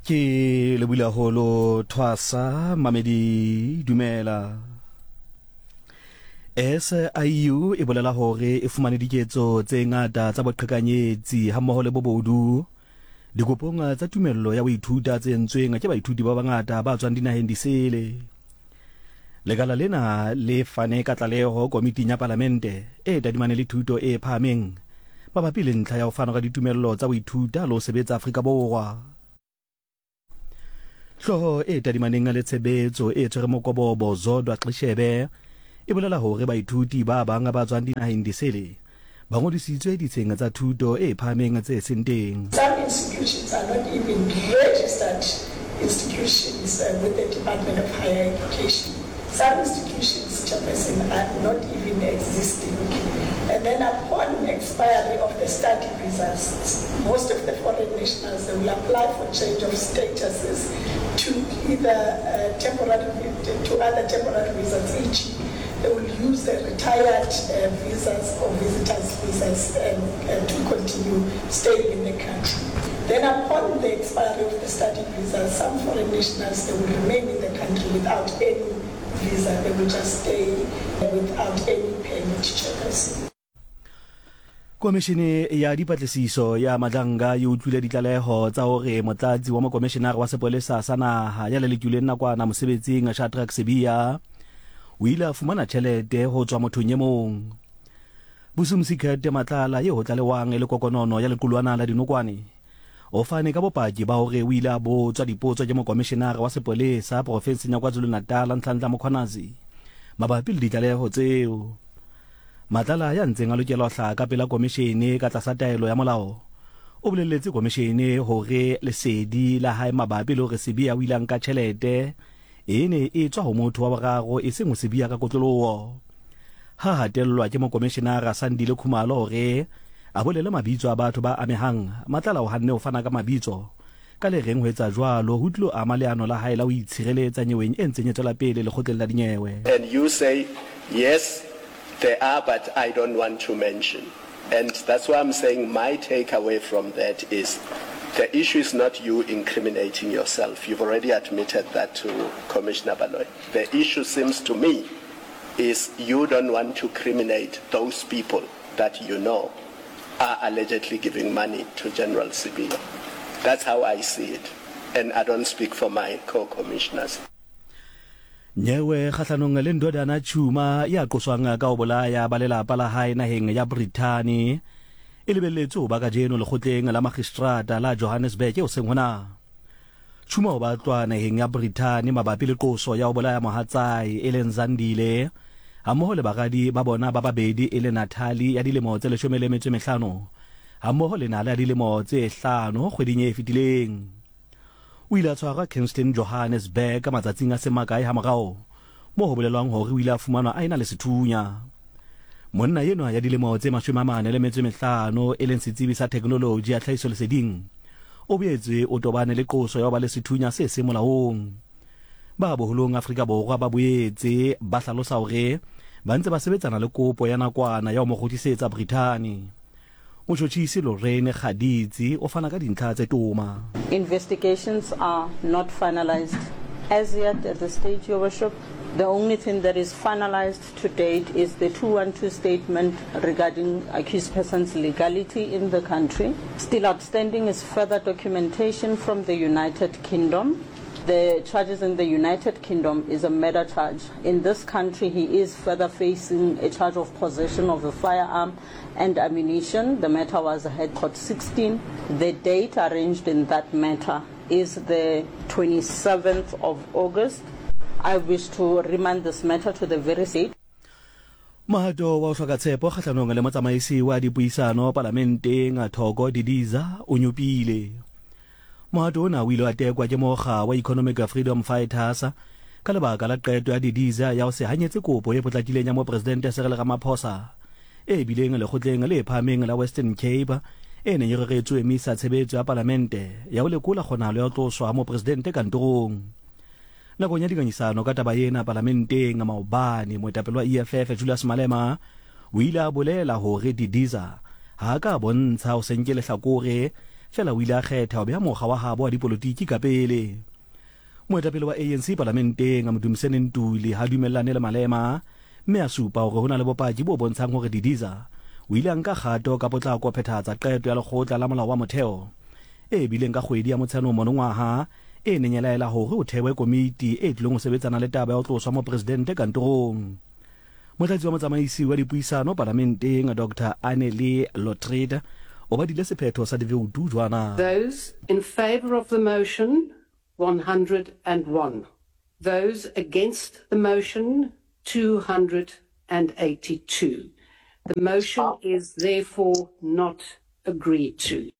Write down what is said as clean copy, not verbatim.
Ke lebile haholo Thwasa Mamedi dumela. SIU e bolela hore e fumane diketso tse ngata tsa boqhekanyetsi hammoho le bobodu dikopong tsa tumello ya ho ithuta tse entsweng ke baithuti ba bangata ba tswang dinaheng disele. Lekala lena le fane ka tlaleho komiting ya palamente e tadimane le thuto e phahameng mabapi le ntlha ya ho fana ka ditumello tsa ho ithuta le ho sebetsa Afrika Borwa. Hlooho e tadimaneng le tshebetso e tshwere mokobobo Zodwa Xishebe e bolela hore baithuti ba bang ba tswang dinaheng disele ba ngodisitswe ditsheng tsa thuto e phahameng tse seng teng. Some institutions are not even registered institutions with the Department of Higher Education. Some institutions, Chairperson, are not even existing. And then upon expiry of the study visas, most of the foreign nationals, they will apply for change of statuses to either temporary, to other temporary visas, e.g. They will use the retired visas or visitors visas to continue staying in the country. Then upon the expiry of the study visa, some foreign nationals, they will remain in the country without any visa. They will just stay without any permit, Chairperson. Komishene ya dipatlisiso ya Madlanga e utlwile ditlaleho tsa hore motlatsi wa mokomishenara wa sepolesa sa naha ya lelekilweng nakwana mosebetsing Shadrack Sibiya o ile a fumana tjhelete ho tswa mothong e mong. Busumsi Kurt Matlala eo ho tlalewang e le kokonono ya lequlwana la dinokwane o fane ka bopaki ba hore o ile a botswa dipotso ke mokomishenara wa sepolesa porofenseng ya KwaZulu-Natal Nhlanhla Mkhwanazi mabapi le ditlaleho tseo. Matlala ya ntseng a lokela ho hlaha ka pela komishene ka tlasa taelo ya molao o boleletse komishene hore lesedi la hae mabapi le hore Sibiya o ile a nka tjhelete e ne e tswa ho motho wa boraro eseng ho Sibiya ka kotloloho. Ha hatellwa ke mokomishenara Sandile Khumalo hore a bolele mabitso a batho ba amehang, Matlala o hanne ho fana ka mabitso ka le reng ho etsa jwalo ho tlilo ama leano la hae la ho itshireletsa nyeweng e ntseng e tswela pele lekgotleng la dinyewe. And you say, yes, there are but I don't want to mention. And that's why I'm saying my take away from that is the issue is not you incriminating yourself. You've already admitted that to Commissioner Baloyi. The issue seems to me is you don't want to criminate those people that you know are allegedly giving money to General Sibiya. That's how I see it. And I don't speak for my co-commissioners. Nyewe kgahlanong le Ndodana Tshuma ya qoswang ka ho bolaya ba lelapa la hae naheng ya Brithani e lebelletswe ho ba kajeno lekgotleng la magistrata la Johannesburg hoseng hona. Tshuma o batlwa naheng ya Brithani mabapi le qoso ya ho bolaya mohatsae e leng Zandile hammoho le baradi ba bona ba babedi e le Natalie ya dilemo tse 15 hammoho le Nala ya dilemo tse hlano kgweding e fetileng. O ile a tshwarwa Kingston, Johannesburg matsatsing a seng makae hamorao moo ho bolelwang hore o ile a fumanwa a ena le sethunya. Monna enwa ya dilemo tse 45 e leng setsebi sa theknoloji ya tlhahisoleseding o boetse o tobane le qoso ya ho ba le sethunya se seng molaong. Ba boholong Afrika Borwa ba boetse ba hlalosa hore ba ntse ba sebetsana le kopo ya nakwana ya ho mo kgutlisetsa Brithani. Motjhotjhisi Lorraine Kgaditsi o fana ka dintlha tse toma. Investigations are not finalised as yet at this stage, Your Worship. The only thing that is finalised to date is the 212 statement regarding accused person's legality in the country. Still outstanding is further documentation from the United Kingdom. The charges in the United Kingdom is a murder charge. In this country, he is further facing a charge of possession of a firearm and ammunition. The matter was heard court 16. The date arranged in that matter is the 27th of August. I wish to remand this matter to the very state. Mohato wa ho hloka tshepo kgahlanong le motsamaisi wa dipuisano palamenteng Thoko Didiza o nyopile. Mohato ona o ile wa tekwa ke mokga wa Economic Freedom Fighters ka lebaka la qeto ya Didiza ya ho se hanyetse kopo e potlakileng ya Mopresidente Cyril Ramaphosa e bileng lekgotleng le phahameng la Western Cape e neng e reretswe ho emisa tshebetso ya palamente ya ho lekola kgonahalo ya ho tloswa ha mopresidente kantorong. Nakong ya dingangisano ka taba ena palamenteng maobane, moetapele wa EFF Julius Malema o ile a bolela hore Didiza ha a ka a bontsha ho se nke lehlakore Fela o ile a kgetha ho beha mokga wa habo wa dipolotiki ka pele. Moetapele wa ANC palamenteng, Mdumiseni Ntuli, ha dumellane le Malema mme a supa hore ho na le bopaki bo bontshang hore Didiza o ile a nka kgato ka potlako ho phethahatsa qeto ya lekgotla la molao wa motheo e bileng ka kgwedi ya Motsheanong monongwaha e neng e laela hore ho thewe komiti e tlilong ho sebetsana le taba ya ho tloswa mopresidente kantorong. Motlatsi wa motsamaisi wa dipuisano palamenteng Doctor Annelie Lotriet o badile sephetho sa divoutu jwana. Those in favour of the motion, 101. Those against the motion, 282. The motion is therefore not agreed to.